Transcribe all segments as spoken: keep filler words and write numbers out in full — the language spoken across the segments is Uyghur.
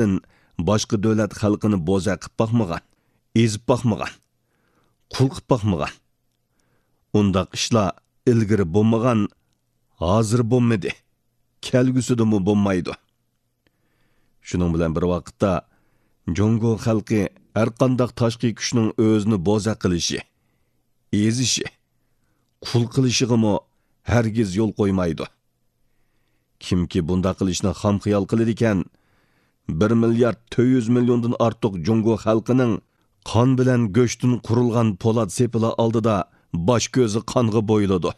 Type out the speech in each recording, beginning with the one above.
ئەزەلدىن باشقا دۆلەت خەلقىنى بوزەك قىپ باقمىغان، ئېزىپ باقمىغان، قۇل قىپ باقمىغان. ئۇنداق ئىشلار ئىلگىرى بولمىغان، ھازىر بولمىدى، كەلگۈسىدىمۇ بولمايدۇ. شۇنىڭ بىلەن بىر ۋاقىتتا، جۇڭگو خەلقى ھەرقانداق تاشقى كۈچنىڭ ئۆزىنى بوزەك قىلىشى، ئېزىشى، قۇل قىلىشىغىمۇ ھەرگىز يول قويمايدۇ. كىمكى بۇنداق قىلىشنى خام خىيال قىلىدىكەن، بىر مىليارد تۆت يۈز مىليوندىن ئارتۇق جۇڭگو خەلقىنىڭ قان بىلەن گۆشتىن قۇرۇلغان پولات سېپىلى ئالدىدا باش كۆزى قانغا بويىلىدۇ.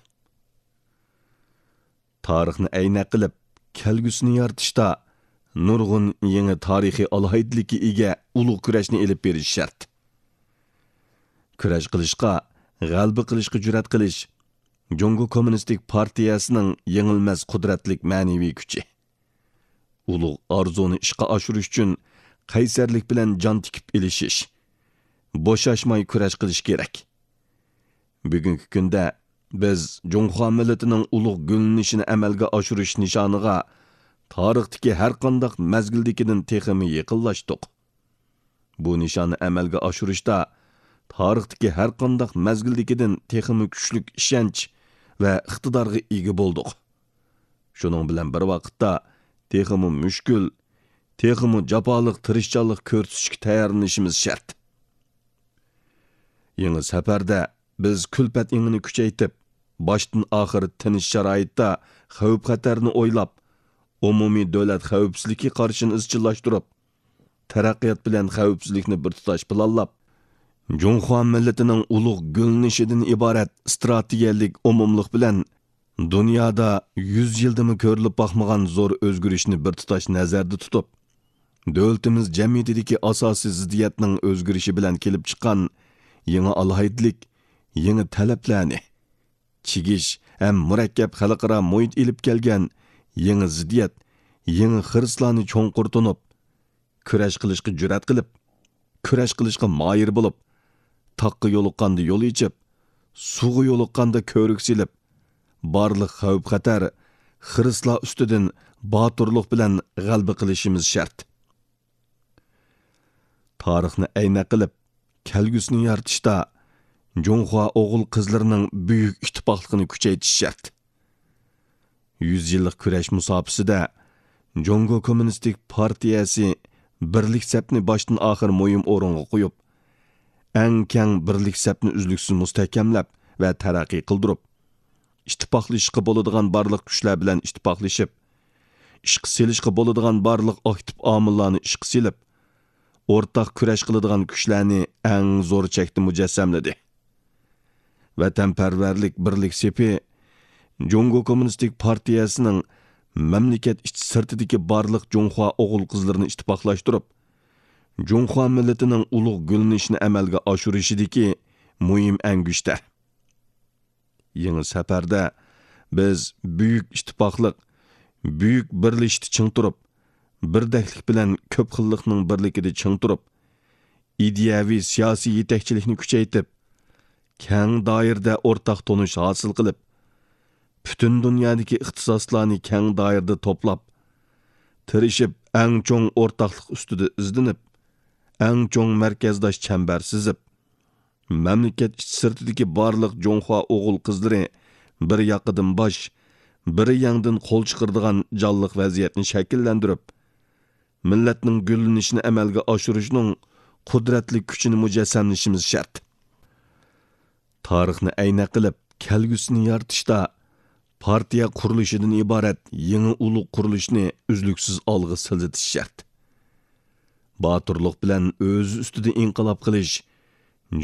تارىخنى ئەينەك قىلىپ، كەلگۈسىنى يارىتىشتا نۇرغۇن يېڭى تارىخىي ئالاھىدىلىككە ئىگە ئۇلۇغ كۈرەشنى ئېلىپ بېرىش شەرت. كۈرەش قىلىشقا، غەلىبە قىلىشقا جۈرئەت قىلىش جۇڭگو كوممۇنىستىك پارتىيەسىنىڭ يېڭىلمەس قۇدرەتلىك مەنىۋى كۈچى. ئۇلۇغ ئارزۇنى ئىشقا ئاشۇرۇش ئۈچۈن قەيسەرلىك بىلەن جان تىكىپ ئېلىشىش، بوشاشماي كۈرەش قىلىش كېرەك. بۈگۈنكى كۈندە بىز جۇڭخۇا مىللىتىنىڭ ئۇلۇغ گۈللىنىشىنى ئەمەلگە ئاشۇرۇش نىشانىغا تارىختىكى ھەرقانداق مەزگىلدىكىدىن تېخىمۇ يېقىنلاشتۇق. بۇ نىشاننى ئەمەلگە ئاشۇرۇشتا تارىختىكى ھەرقانداق مەزگىلدىكىدىن تېخىمۇ كۈچلۈك ئىشەنچ ۋە ئىقتىدارغا ئىگە بولدۇق. شۇنىڭ بىلەن بىر ۋاقىتتا، تېخىمۇ مۈشكۈل، تېخىمۇ جاپالىق تىرىشچانلىق كۆرسىتىشكە تەييارلىنىشىمىز شەرت. يېڭى سەپەردە بىز كۈلپەت ئېڭىنى كۈچەيتىپ، باشتىن ئاخىر تىنچ شارائىتتا خەۋپ-خەتەرنى ئويلاپ، ئومۇمىي دۆلەت خەۋپسىزلىكى قارىشىنى ئىزچىللاشتۇرۇپ، تەرەققىيات بىلەن خەۋپسىزلىكنى بىر تۇتاش پىلانلاپ، جۇڭخۇا مىللىتىنىڭ ئۇلۇغ گۈللىنىشىدىن ئىبارەت ئىستراتېگىيەلىك ئومۇملۇق بىلەن دۇنيادا يۈز يىلدىمۇ كۆرۈلۈپ باقمىغان زور ئۆزگىرىشنى بىر تۇتاش نەزەردە تۇتۇپ، دۆلىتىمىز جەمئىيىتىدىكى ئاساسىي زىددىيەتنىڭ ئۆزگىرىشى بىلەن كېلىپ چىققان يېڭى ئالاھىدىلىك، يېڭى تەلەپلەرنى، چىگىش ھەم مۇرەككەپ خەلقئارا مۇھىت ئېلىپ كەلگەن يېڭى زىددىيەت، يېڭى خىرىسلارنى چوڭقۇر تونۇپ، كۈرەش قىلىشقا جۈرئەت قىلىپ، كۈرەش قىلىشقا ماھىر بولۇپ، تاغقا يولۇققاندا يول ئېچىپ، سۇغا يولۇققاندا كۆۋرۈك سېلىپ، بارلىق خەۋپ-خەتەر، خىرىسلار ئۈستىدىن باتۇرلۇق بىلەن غەلىبە قىلىشىمىز شەرت. تارىخنى ئەينەك قىلىپ، كەلگۈسىنى يارىتىشتا جۇڭخۇا ئوغۇل-قىزلىرىنىڭ بۈيۈك ئىتتىپاقلىقىنى كۈچەيتىش شەرت. يۈز يىللىق كۈرەش مۇساپىسىدە جۇڭگو كوممۇنىستىك پارتىيەسى بىرلىك سەپنى باشتىن ئاخىر مۇھىم ئورۇنغا قويۇپ، ئەڭ كەڭ بىرلىك سەپنى ئۈزلۈكسىز مۇستەھكەملەپ ۋە تەرەققىي قىلدۇرۇپ، ئىتتىپاقلىشىشقا بولىدىغان بارلىق كۈچلەر بىلەن ئىتتىپاقلىشىپ، ئىشقا سېلىشقا بولىدىغان بارلىق ئاكتىپ ئامىللارنى ئىشقا سېلىپ، ئورتاق كۈرەش قىلىدىغان كۈچلەرنى ئەڭ زور چەكتە مۇجەسسەملىدى. ۋەتەنپەرۋەرلىك بىرلىك سېپى جۇڭگو كوممۇنىستىك پارتىيەسىنىڭ مەملىكەت ئىچى سىرتىدىكى بارلىق جۇڭخۇا ئوغۇل-قىزلىرىنى ئىتتىپاقلاشتۇرۇپ، جۇڭخۇا مىللىتىنىڭ ئۇلۇغ گۈللىنىشىنى ئەمەلگە ئاشۇرۇشىدىكى مۇھىم ئەڭگۈشتەر. يېڭى سەپەردە بىز بۈيۈك ئىتتىپاقلىق، بۈيۈك بىرلىشىشتە چىڭ تۇرۇپ، بىردەكلىك بىلەن كۆپ خىللىقنىڭ بىرلىكىدە چىڭ تۇرۇپ، ئىدىيەۋى سىياسىي يېتەكچىلىكنى كۈچەيتىپ، كەڭ دائىرىدە ئورتاق تونۇش ھاسىل قىلىپ، پۈتۈن دۇنيادىكى ئىختىساسلارنى كەڭ دائىرىدە توپلاپ، تىرىشىپ ئەڭ چوڭ ئورتاقلىق ئۈستىدە ئىزدىنىپ، ئەڭ چوڭ مەركەزداش چەمبەر سىزىپ، مەملىكەت ئىچى سىرتىدىكى بارلىق جۇڭخۇا ئوغۇل-قىزلىرى بىر ياقىدىن باش، بىر يەڭدىن قول چىقىرىدىغان جانلىق ۋەزىيەتنى شەكىللەندۈرۈپ، مىللەتنىڭ گۈللىنىشىنى ئەمەلگە ئاشۇرۇشنىڭ قۇدرەتلىك كۈچىنى مۇجەسسەملىشىمىز شەرت. تارىخنى ئەينەك قىلىپ، كەلگۈسىنى يارىتىشتا پارتىيە قۇرۇلۇشىدىن ئىبارەت يېڭى ئۇلۇغ قۇرۇلۇشنى ئۈزلۈكسىز ئالغا سىلجىتىش شەرت. باتۇرلۇق بىلەن ئۆزى ئۈستىدە ئىنقىلاب قىلىش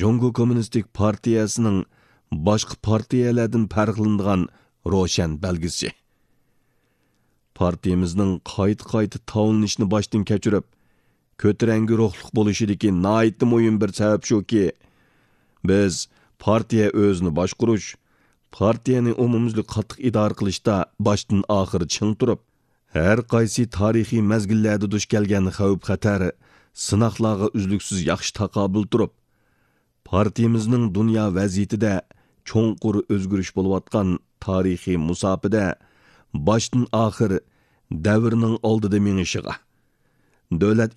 جۇڭگو كوممۇنىستىك پارتىيەسىنىڭ باشقا پارتىيەلەردىن پەرقلىنىدىغان روشەن بەلگىسى. پارتىيىمىزنىڭ قايتا-قايتا تاۋلىنىشىنى باشتىن كەچۈرۈپ، كۆتۈرەڭگۈ روھلۇق بولۇشىدىكى ناھايىتى مۇھىم بىر سەۋەب شۇكى، بىز پارتىيە ئۆزىنى باشقۇرۇش، پارتىيەنى ئومۇميۈزلۈك قاتتىق ئىدارە قىلىشتا باشتىن ئاخىر چىڭ تۇرۇپ، ھەر قايسى تارىخىي مەزگىللەردە دۇچ كەلگەن خەۋپ-خەتەر، سىناقلارغا ئۈزلۈكسىز ياخشى تاقابىل تۇرۇپ، پارتىيىمىزنىڭ دۇنيا ۋەزىيىتىدە چوڭقۇر ئۆزگىرىش بولۇۋاتقان تارىخىي مۇساپىدە باشتىن ئاخىر دەۋرنىڭ ئالدىدا مېڭىشىغا، دۆلەت